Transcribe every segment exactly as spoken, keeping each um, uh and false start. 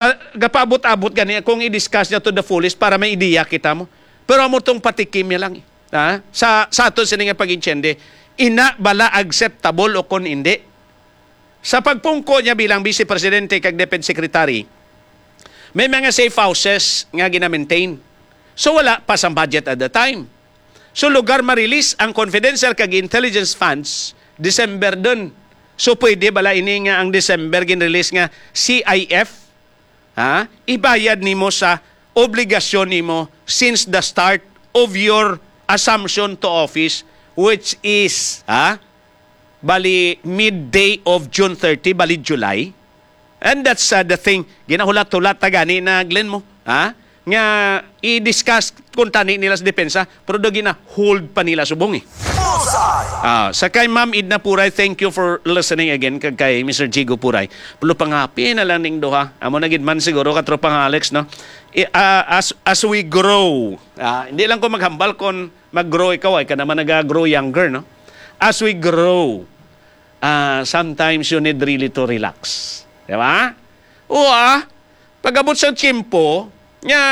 ah, gapaabot-abot gani kung i-discuss niya to the fullest para may ideya kita mo. Pero amo tong patikim niya lang, eh. Ha? Sa, sa aton sini nga pag-intiende, ina bala acceptable o kon hindi? Sa pagpungko niya bilang Vice Presidente kag DepEd Secretary, may mga safe houses nga gina-maintain. So, wala pa sang budget at the time. So, lugar ma-release ang confidential kag intelligence funds, December dun. So, pwede bala ini nga ang December gin-release nga C I F, ha? Ibayad nimo sa obligasyon nimo since the start of your assumption to office, which is, ha? Bali, midday of June thirty, bali July. And that's, uh, the thing. Ginahulat-hulat ta gani na, Glenn, mo, ha? Nga i-discuss kung tani nila sa depensa, pero daw gina-hold pa nila subong, eh. Bullseye! Ah, sa kay Ma'am Edna Puray, thank you for listening again. Kag kay Mister Jigo Puray, pulo pangapi na lang ning duha. Amo na gid man siguro, katropang Alex, no? I- ah, as as we grow, ah, hindi lang ko maghambal kon mag-grow ikaw, ay ka naman nag-grow younger, no? As we grow, ah, sometimes you need really to relax. Di ba? O, ah, pag-abot sa tiyempo, nga,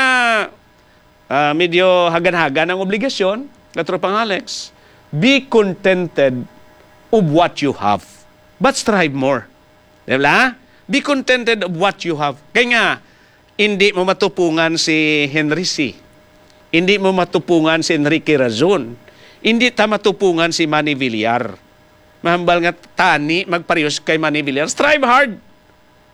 ah, medyo hagan-hagan ang obligasyon, katropang Alex, be contented of what you have, but strive more. Di ba? Be contented of what you have. Kay nga, hindi mo matupungan si Henry Sy. Hindi mo matupungan si Enrique Razon. Hindi ta matupungan si Manny Villar. Mahambal nga tani magparehas kay Manny Villar. Strive hard.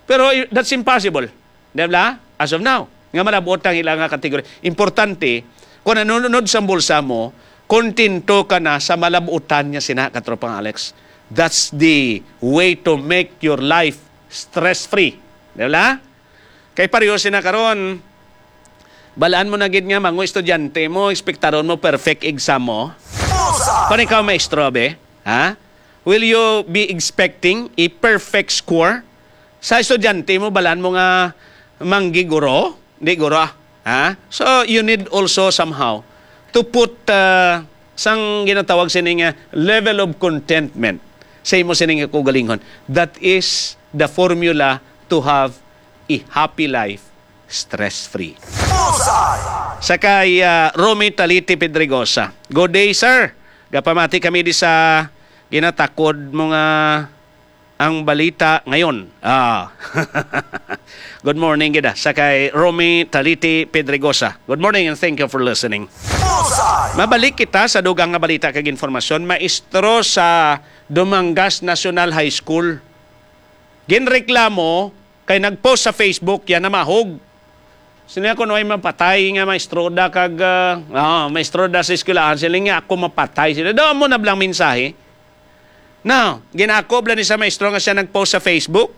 Pero i- that's impossible. Di ba? As of now. Nga malabot ang ila nga kategorya. Importante, kung nanunod sa bulsa mo, kontento ka na sa malabutan niya sina, katropang Alex. That's the way to make your life stress-free. Di ba? Kay pareho sina karon, balaan mo na gid nga mga estudyante mo, ekspektaron mo perfect exam mo. Bullseye! Kung ikaw maestro, be, ha? Will you be expecting a perfect score? Sa estudyante mo, balaan mo nga manggiguro? Di guro, ah. Ha? So, you need also somehow to put, uh, sang ginatawag sini nga level of contentment sa imo sini nga kaugalingon. That is the formula to have a happy life, stress-free. Bullseye! Sa kay, ah, Romy Taliti Pedregosa. Good day, sir. Gapamati kami di sa ginatakod mo nga ang balita ngayon. Ah. Good morning gid, ah, sa kay Romy Taliti Pedregosa. Good morning and thank you for listening. Bullseye! Mabalik kita sa dugang nga balita kag informasyon. Maestro sa Dumangas National High School ginreklamo kay nag-post sa Facebook, yan namahog. Sila kuno ay mapatay nga maestroda kag, ah, ah, maestroda sa eskwelahan. Sila nga ako mapatay. Sila daw mo na blang mensahe. Now, ginakob lang ni sa maestro nga siya nag-post sa Facebook.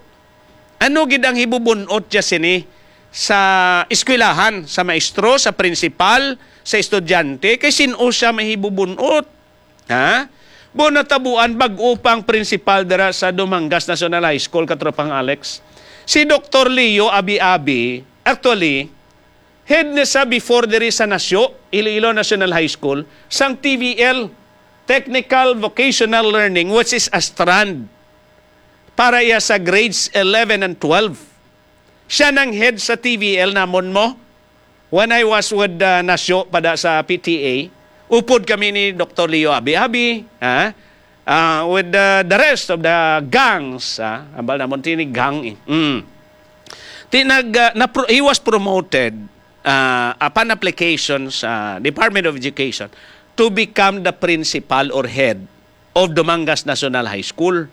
Ano gid ang hibubunot siya sini sa eskwelahan, sa maestro, sa principal, sa estudyante? Kay sin-o siya mahibubunot? Ha? Bo natabuan, bag-o pang principal dira sa Dumangas National High School, katropang Alex. Si Doktor Leo Abi-Abi, actually, head na sa before diri sa Nasyo, Iloilo National High School, sang T V L, Technical Vocational Learning, which is a strand para iya sa grades eleven and twelve. Siya nang head sa T V L namon mo. When I was with, uh, Nasyo pada sa P T A, upod kami ni Doktor Leo Abi-Abi, ha? Ah, with the, the rest of the gangs, ha? Ambal namon tini gang, eh. Mm. Ti nag, uh, na, he was promoted, uh, upon application sa Department of Education to become the principal or head of Dumangas National High School.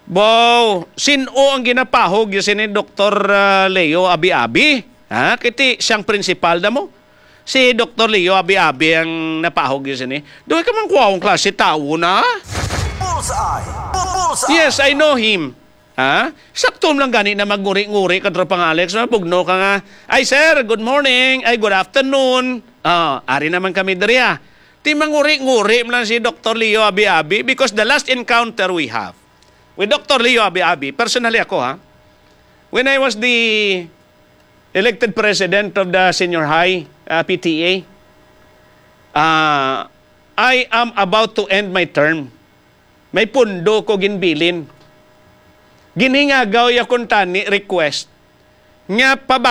Bo, sin-o ang ginapahog yun sini Doktor, ah, Leo Abi-Abi? Ha? Kiti siyang principal na mo. Si Doktor Leo Abi-Abi ang napahog yun sini. Doon ka man kuwaong klase tao na. Bullseye! Bu- Bullseye! Yes, I know him. Ha? Sakto lang gani na magnguri-nguri, katropang Alex, na bugno ka nga, "Ay, sir, good morning. Ay, good afternoon." Ah, ari naman kami diri, ah. Ti manguri-nguri man lang si Doktor Leo Abi-Abi because the last encounter we have with Doktor Leo Abi-Abi, personally ako, ha, when I was the elected president of the senior high, uh, P T A, uh, I am about to end my term. May pundo ko ginbilin. Ginhingagaw ya kuntani request nga